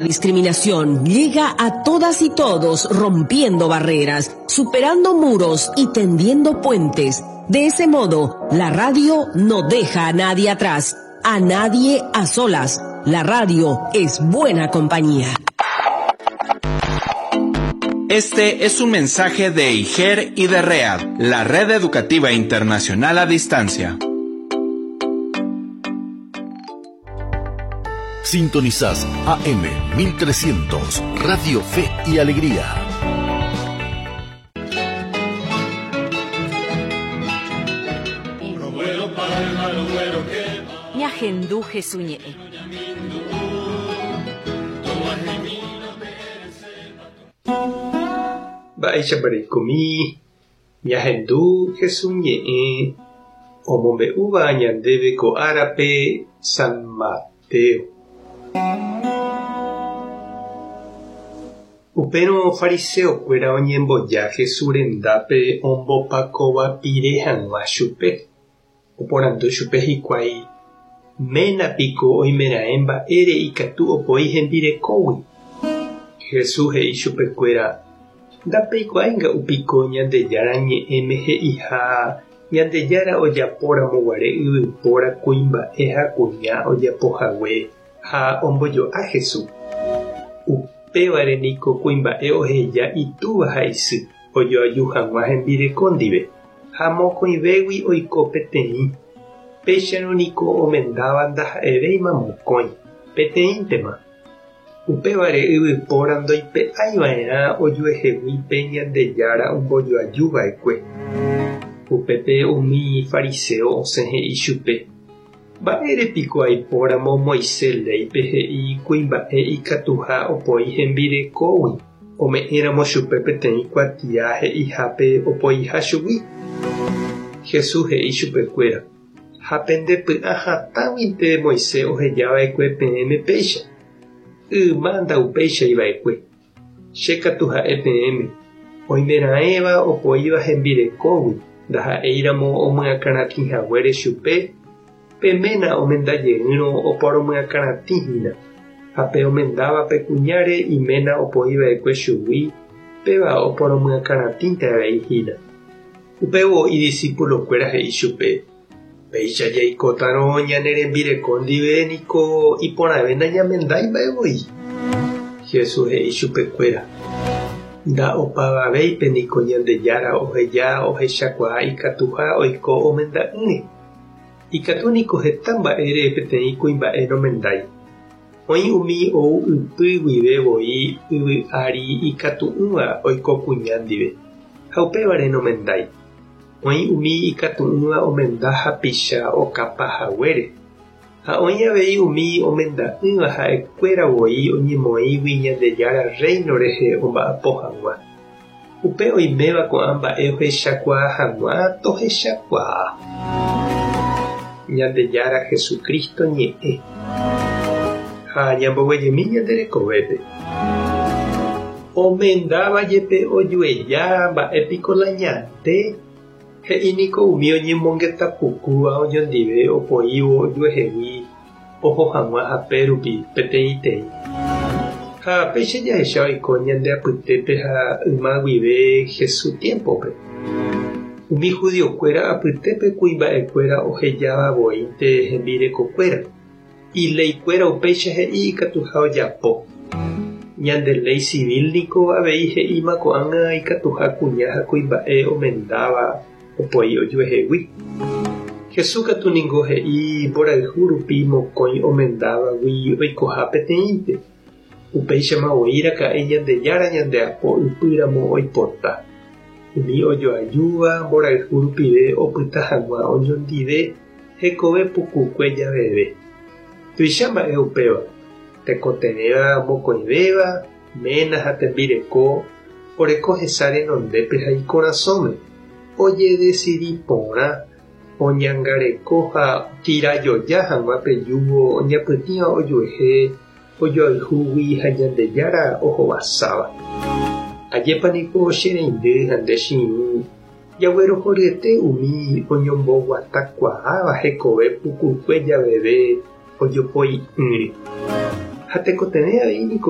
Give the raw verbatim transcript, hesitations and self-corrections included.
Discriminación llega a todas y todos rompiendo barreras, superando muros y tendiendo puentes. De ese modo, la radio no deja a nadie atrás, a nadie a solas. La radio es buena compañía. Este es un mensaje de I G E R y de READ, la Red Educativa Internacional a Distancia. Sintonizás A M mil trescientos, Radio Fe y Alegría. Ñahendu Jesús ñe'ẽ. Mba'éichapa reikomi, ñahendu Jesús ñe'ẽ, omombe'úva ñandéve ko árape San Mateo. Upérõ fariseokuéra oñemboja Jesús rendápe ombopakova pire hag̃ua chupe. Oporandu chupe hikuái, ména piko oimeraẽ mba'ére ikatu opoi hembirekógui. Jesús he'i chupekuéra, ndapeikuaáinga upiko Ñandejára ñe'ẽme he'iha Ñandejára ojapóramo guare yvypóra kuimba'e ha kuña ojapohague ha ombojo'a Jesús. Upévare niko kuimba'e oheja itúva ha isy ojoaju hag̃ua hembireko ndive ha mokõivégui oiko peteĩ. Péicharõ niko omendáva ndaha'evéima mokõi, peteĩntema. Upévare yvypóra ndoipe'aiva'erã ojuehegui pe Ñandejára ombojoajuva'ekue. Upépe umi fariseo osẽ he'i chupe, mba'ére piko aipóramo Moisés léipe he'i kuimba'e ikatuha opoi hembirekógui, ome'ẽramo chupe peteĩ kuatia he'ihápe opoiha chugui. Jesús he'i chupekuéra, ha pendepy'a hatãguinte Moisés ohejava'ekue peẽme péicha. Yma ndaupeichaiva'ekue. Che katu ha'e peẽme, oimeraẽva opoíva hembirekógui, ndaha'éiramo omyakãratĩhaguére chupe, pe ména omendajeýrõ oporomyakãratĩhína, ha pe omendáva pe kuñáre iména opoiva'ekue chugui, péva oporomyakãratĩnte avei hína. Upévo idiscípulokuéra he'i chupe, péicha jaikótarõ ñane rembireko ndive niko iporãve nañamendái mba'evoi. Jesús he'i chupekuéra, nda'opavavéipe niko Ñandejára oheja ohechakuaa ikatuha oiko omenda'ỹre. Ikatu niko heta mba'ére peteĩ kuimba'e nomendái. Oĩ umi ou ypy guive voi yvy ári ikatu'ỹva oiko kuña ndive, ha upévare nomendái. Oĩ umi ikatu'ỹva omenda hapicha okapahaguére, ha oĩ avei umi omenda'ỹva ha'ekuéra voi oñemoĩgui Ñandejára reino rehe omba'apo hag̃ua. Upe oiméva ko'ã mba'e ohechakuaa hag̃ua tohechakuaa. Ñandejára Jesucristo ñe'ẽ. Ha ñamboguejemi ñande rekovépe. Omendáva jepe ojueja mba'e piko la ñande, he'i niko umi oñemongetapukúva oñondive opoívo ojuehegui oho hag̃ua hape rupi peteĩteĩ. Ha péicha jahecha oiko ñande apytépe ha yma guive Jesús tiempope. Umi judiokuéra apytépe kuimba'ekuéra ohejáva voínte hembirekokuéra. Ileikuéra upéicha he'i ikatuha ojapo. Ñande ley civil niko avei he'íma ko'ág̃a ikatuha kuña ha kuimba'e omendáva opoi ojuehegui. Jesús katu ningo he'i mborayhu rupi mokõi omendávagui oikoha peteĩnte. Upéichama voi raka'e Ñandejára ñandeapo ypýramo oipota. Umi ojoajúva mborayhu rupive opyta hag̃ua oñondive hekove pukukue javeve. Tuicha mba'e upéva, tekotevẽva mokõivéva, ména ha tembireko, oreko hesa renondépe ha ikorasõme, ojedesidi porã, oñangareko ha tirajoja hag̃ua pe yugo oñapytĩva ojuehe, ojoayhúgui ha Ñandejára ohovasáva. Ajépa niko che reindy ha nde che irũ, jaguerohoryete umi oñomboguatakuaáva hekove pukukue javeve ojopoi'ỹre. Ha tekotevẽ avei niko.